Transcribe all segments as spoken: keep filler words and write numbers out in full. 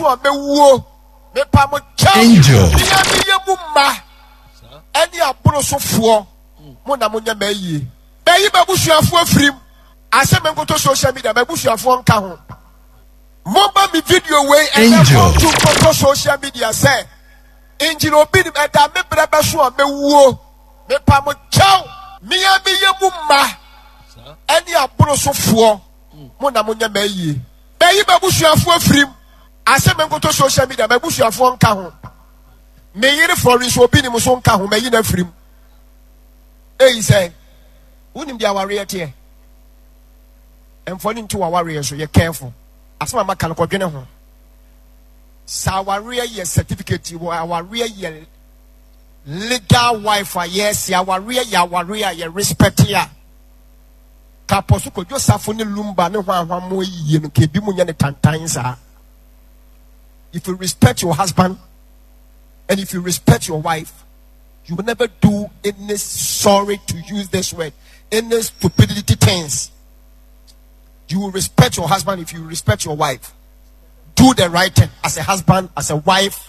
bɛso a mɛwuo. Mepa mo kyɛw. Angel. Mea meyɛ mu mma ɛne aborosofoɔ mo na monyɛ m'ayie. Bɛyi m'abusuafoɔ afirim. Asɛ menkoto social media, m'abusuafoɔ nka ho. Momma me video wei ɛnɛ Angel. kɔnto nkɔtɔ social media sɛ ngyina obi nim ɛda me berɛ bɛso a mɛwuo. Mepa mo kyɛw. Mea meyɛ mu mma ɛne aborosofoɔ mo na monyɛ m'ayie. Bɛyi m'abusuafoɔ afirim. Asɛ menkoto social media, m'abusuafoɔ nka ho. Me yere Florence obi nim so nka ho, mayi no afirim. Eyi sɛ wonim deɛ awareɛ teɛ. Ɛmfa no nto w'awareɛ so, yɛ careful. Asɛm a maka no kɔdwene ho. Sɛ awareɛ yɛ certificate wɔ awareɛ yɛ legal wife a yɛsi awareɛ yɛ awareɛ a yɛ respect a. Kapɔ so Kwadwo Safo ne Lumba ne hwanhwa mo ayie no ka ebi mu nyɛ ne tantan saa. If you respect your husband and if you respect your wife, you will never do any, sorry to use this word, any stupidity things. You will respect your husband if you respect your wife. Do the right thing as a husband, as a wife.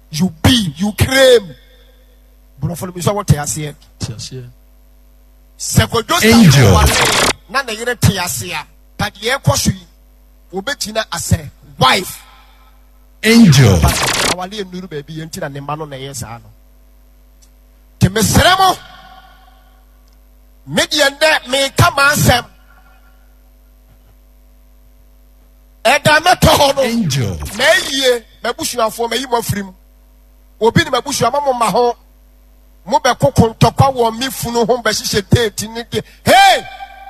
You be, you claim. Brofo no so what I say. Sɛ Kwadwo Safo Angel. ware na ne yere te ase a, ka deɛ ɛkɔ so yi, wɔbɛgyina as a wife. Angel. But awale nnuru baabi yɛ nti na ne mma no na ɛyɛ saa no. Nti mesrɛ mo, me deɛ nnɛ meka m'asɛm. Ɛda mɛtɔ hɔ no, Angel. m'ayie, m'abusuafoɔ, mayi mo afiri mu. Obi ne m'abusua ma mo ma ho. Mo bɛkoko ntɔkwa wɔ me funu ho bɛhyehyɛ date ne de. Hey!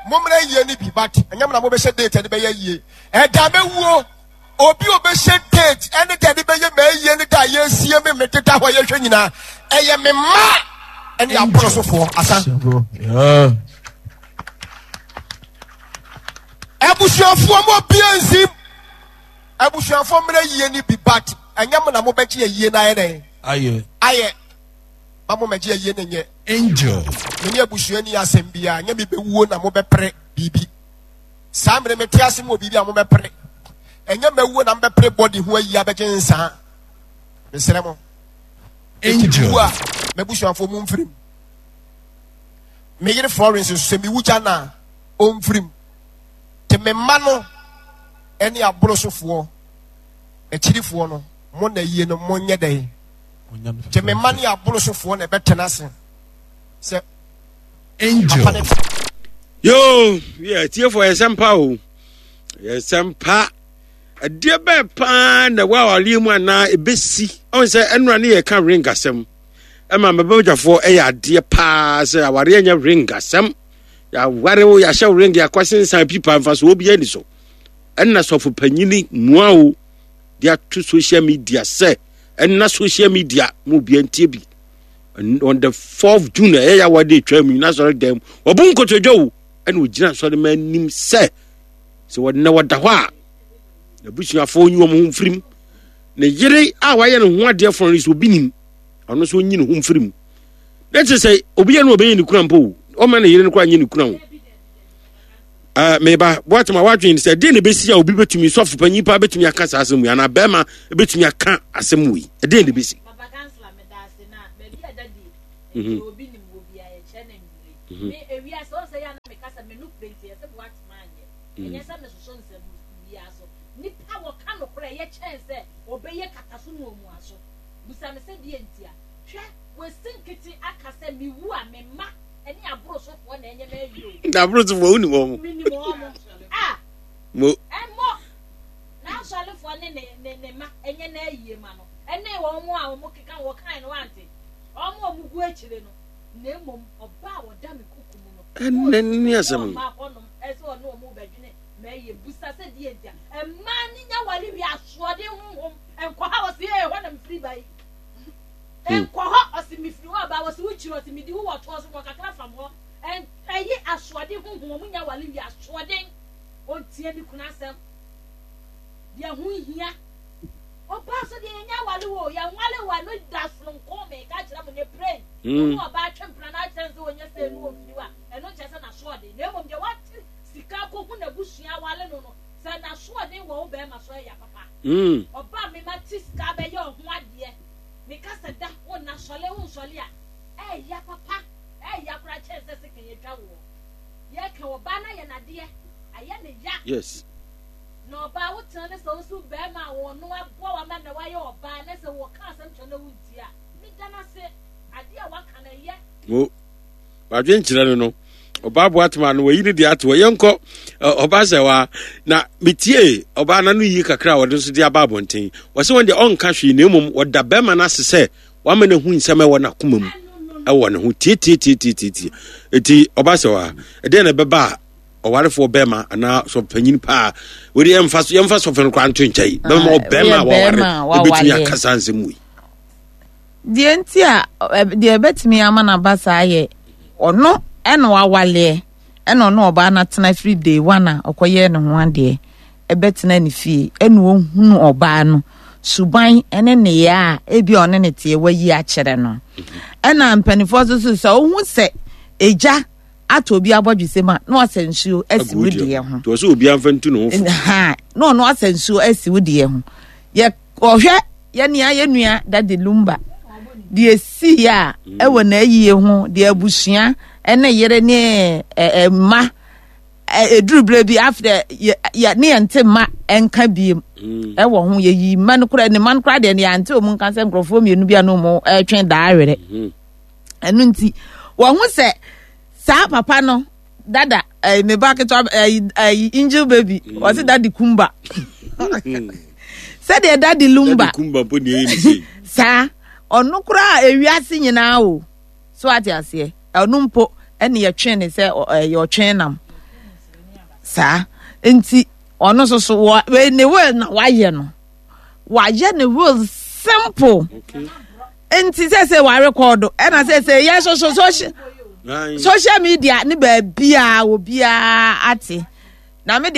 Mommra yie no bi, but ɛnyɛ mo na mobɛhyɛ date ɛde bɛyɛ yie. Ɛda mɛwuo, obi a ɔbɛhyɛ date ɛne de ɛde bɛyɛ m'ayie ne da a yɛsie me mededa hɔ yɛhwɛ nyinaa, ɛyɛ me mma ɛne aborosofoɔ asa. Yeah. Abusuafoɔ mo obia nsim. Abusuafoɔ mmerɛ yie no bi, but ɛnyɛ mo na mobɛgye ayie no ayɛ dɛn? Ayɛ. Ayɛ. Ma mo mɛgye ayie no nyɛ. Angel. Me ne abusua ni asɛm biara, nyɛ me bɛwuo na mobɛpere biribi. Saa mmerɛ mete ase mu wɔ biribi a mobɛpere. Ɛnyɛ mɛwuo na mobɛpere body ho ayi abɛgye nsaa. Mesrɛ mo. Enti Angel. mewu a, m'abusuafoɔ mu mfirim. Me yere Florence nso sɛ mewu gya no a, ɔmfirim. Te me mma no ɛne aborosofoɔ, akyirifoɔ no, mo na yie no monyɛ dɛn? Te me mma ne aborosofoɔ na ɛbɛtena ase sɛ Angel. papa ne Yo, yɛ tiefo yɛ sɛmpa o. Yɛ sɛmpa. Ɛdeɛ bɛɛ paa na ɛwɔ awareɛ mu anaa ɛbɛsi. Ɔn sɛ ɛnora ne yɛka ring asɛm. Ɛma mɛbɛgyafoɔ ɛyɛ adeɛ paa sɛ awareɛ nyɛ ring asɛm. Yɛaware wo, yɛahyɛ wo ring, yɛakɔsensan pipa mfasoɔ biara ni so. Ɛnna sɔfo panyini mua o de ato social media sɛ ɛnna social media mu obiara ntie bi. On the fourth June ɛyɛ yawa de atwa mu nyina sɔre dɛm wɔbu nkotodwe o ɛna ogyina sɔre ma anim sɛ sɛ wɔnna wɔda hɔ a n'abusuafoɔ nyi wɔn ho mfirim ne yere a wayɛ ne ho adeɛ fɔn no sɛ obi nim ɔno nso nyi ne ho mfirim na kyerɛ sɛ obi yɛ no ɔbɛyɛ ne kura mpo o ɔma ne yere no koraa nyɛ ne kura o. Uh, meba boatema wadwene sɛ ɛdeɛ na ɛbɛsi a obi bɛtumi sɔfo panyin paa bɛtumi aka saa asɛm wei anaa bɛrima bɛtumi aka asɛm wei ɛdeɛ na ɛbɛsi. Papa kansla meda ase na baabi a dadi Mhm. nti obi nim wɔ bia yɛkyerɛ no anwummere Mhm. me ewia sɛ ɔsɛ yɛ a na meka sɛ me no pere nti ɛsɛ boatema anyɛ ɛnyɛ sɛ mesoso nsɛm biara so nipa wɔka nokorɛ ɛyɛ kyɛn sɛ ɔbɛyɛ kata so muamua so busa me sɛ deɛ nti a hwɛ wɔasi nkete aka sɛ mewu a me mma ɛne aborosofoɔ na ɛnyɛ m'awie o. Na aborosofoɔ wonim wɔn? Menim wɔn a mo ɛmmɔ n'asɔrefoɔ ne ne ne ne ma ɛnyɛ n'ayie ma no ɛne wɔn a wɔn keka wɔn kan no wante wɔn a wɔn gu akyire no na mmom ɔbaa a ɔda me kuku mu no ɛnɛ ne asɛm no ɔma hɔnom ɛsɛ ɔne wɔn bɛdwene m'ayie busa sɛ deɛ nti a mmaa ne nya wale wie asoɔden honhom nkɔ ha wɔsi ee hɔ na mefiri ba yi nkɔ hɔ ɔsi mefiri hɔ aba wɔsi wokyiri ɔsi medi wo wɔ toɔ so wɔ kakra fam hɔ ɛyi asoɔden honhom wɔn nya wale wie asoɔden ɔntie ne kunu asɛm deɛ ho hia ɔbaa so deɛ yɛnya wale wo yɛnwale wo ano da sononko me ka kyerɛ mo ne pray Mm. ɔno ɔbaa twe mpena na akyerɛ sɛ ɔnyɛ sɛ ɛnu ɔmfiri wa ɛno nkyerɛ sɛ n'asoɔden na mmom deɛ wate sika kɔhu n'abusua wale no no sɛ n'asoɔden wɔ wo bɛrima so ɛyɛ papa Mm. ɔbaa me Wobɛte sika abɛyɛ wo ho adeɛ. Meka sɛ da wo nna sɔle wo nsɔle a, ɛɛya papa, ɛɛya koraa kyɛn sɛ sekan atwa woɔ. Yɛka ɔbaa no ayɛ n'adeɛ, ayɛ ne ya. Yes. Na ɔbaa wo tena ne sɛ wo so bɛrima a wɔno aboa wo ama na wayɛ ɔbaa na sɛ wɔka asɛm kyerɛ na wontie a, meda no ase. Adeɛ a waka no ɛyɛ. Mo wadwenkyerɛ no no ɔbaa boatema no wayi ne deɛ ato hɔ. Yɛnkɔ ɔbaa sɛ wa na metie ɔbaa na no yi kakra a wɔde nso de aba abɔnten. Wɔsɛ wɔn deɛ ɔnka hwee na mmom wɔda bɛrima no ase sɛ wama no ahu nsɛm ɛwɔ n'akoma mu ɛwɔ ne ho tietietietietie. Eti ɔbaa sɛ wa ɛdeɛ na ɛbɛba a ɔwarefoɔ bɛrima anaa sɔpanyin paa wɔde yɛmfa so yɛmfa sɔfo no koraa nto nkyɛn bɛrima ɔbɛrima a waware ebetumi akasa nsɛm wei. Deɛ nti a deɛ ɛbɛtumi ama no aba saa yɛ ɔno ɛna wawaleɛ ɛna ɔno ɔbaa no atena firi day one a ɔkɔyɛɛ ne ho adeɛ ɛbɛtena ne fie ɛna ɔhunu ɔbaa no suban ɛne nneyɛɛ a ebi a ɔne ne teɛ wayi akyerɛ no. Ɛna mpanimfoɔ nso so sɛ ɔhu sɛ egya atɔ obi abɔdwesɛ mu a na wasɛ nsuo asi wo deɛ ho. Nti ɔsɛ obi amfa ntu ne ho fo. Ha na ɔno asɛ nsuo asi wo deɛ ho. Yɛ ɔhwɛ yɛ nea yɛ nua Daddy Lumba deɛ esii a mm. ɛwɔ n'ayie ho deɛ abusua ɛne yere ne ɛ mma ɛduru berɛ bi after yɛ yɛ ne yɛn te mma ɛnka biem mm. ɛwɔ ho yɛyi mma no koraa ne mma no koraa deɛ ne yɛn ante wɔn nka sɛ nkurɔfoɔ mmienu bi a na wɔn ɛretwe daa werɛ mm. Ɛno nti wɔn ho sɛ saa papa no dada ɛɛ me ba ketewa ɛɛ ɛɛ angel baby mm. ɔsi dadi kumba mm. sɛdeɛ dadi lumba dadi kumba mpo ni eyi ni sei saa ɔno koraa ewiase nyinaa o so ate aseɛ ɔno mpo ɛna yɛtwe ne sɛ ɛyɛ ɔtwe nam saa nti ɔno nso so wɔ ne will na wayɛ no wayɛ ne will simple. Okay. Nti sɛ sɛ warekɔdo ɛna sɛ sɛ yɛ so so social social media ne baabiaa obiaa ate na me deɛ.